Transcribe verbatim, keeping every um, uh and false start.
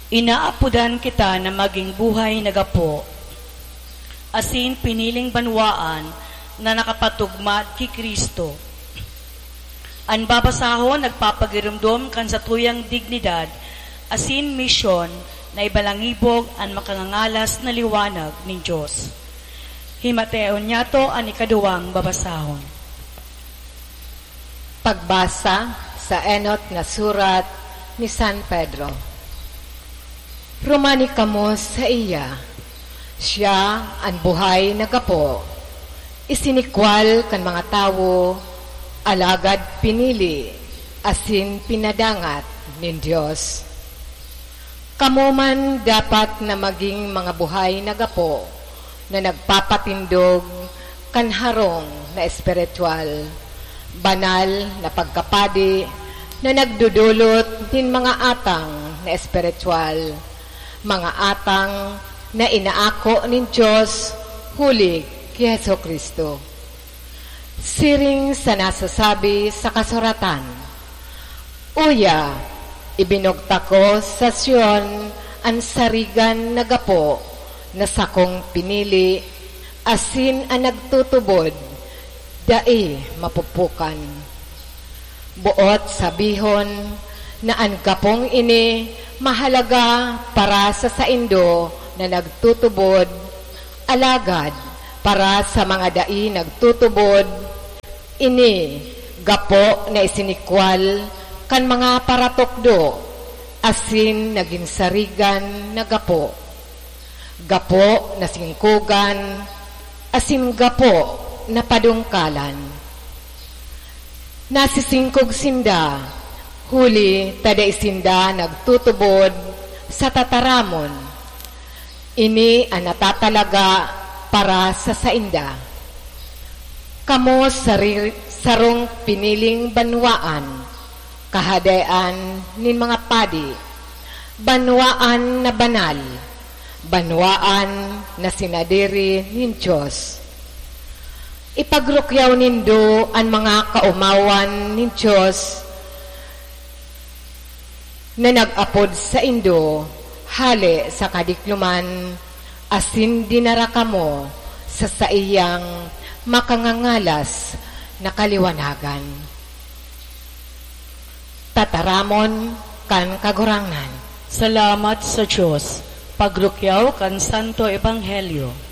Inaapodan kita na maging buhay na gapo, asin piniling banwaan na nakapatugmad ki Cristo. An babasahon nagpapagiromdom kan satuyang dignidad asin misyon na ibalangibog an makangangalas na liwanag nin Dios. Himateon niyato an ikaduwang babasahon. Pagbasa sa enot na surat ni San Pedro. Rumani kamo saiya, siya an buhay na gapo, isinikwal kan mga tawo, alagad pinili asin pinadangat nin Dios. Kamo man dapat na magin mga buhay na gapo na nagpapatindog kan harong na espiritual, banal na pagkapadi na nagdodolot nin mga atang na espiritual, mga atang na inaako nin Dios huli ki Jesu-Cristo. Siring sa nasasabi sa kasuratan, "Uya, ibinugtak ko sa Sion an sarigan na gapo na sakong pinili, asin an nagtutubod, dai mapupukan." Boot sabihon na an gapong ini mahalaga para sa saindo na nagtutubod, alagad para sa mga dai nagtutubod, ini gapo na isinikwal kan mga paratukdo asin nagin sarigan na gapo, gapo na singkogan asin gapo na padungkalan. Nasisingkog sinda, huli ta dai sinda nagtutubod sa tataramon. Ini an natatalaga para sa sainda. Kamo sari-, sarong piniling banwaan, kahadean nin mga padi, banwaan na banal, banwaan na sinadiri nin Dios. Ipagrukyaw nindo an mga kaomawan nin Dios na nag-apod saindo hale sa kadikloman, asin dinara kamo sa saiyang makangangalas na kaliwanagan. Tataramon kan Kagurangnan. Salamat sa Dios. Pagrukyaw kan Santo Ebanghelyo.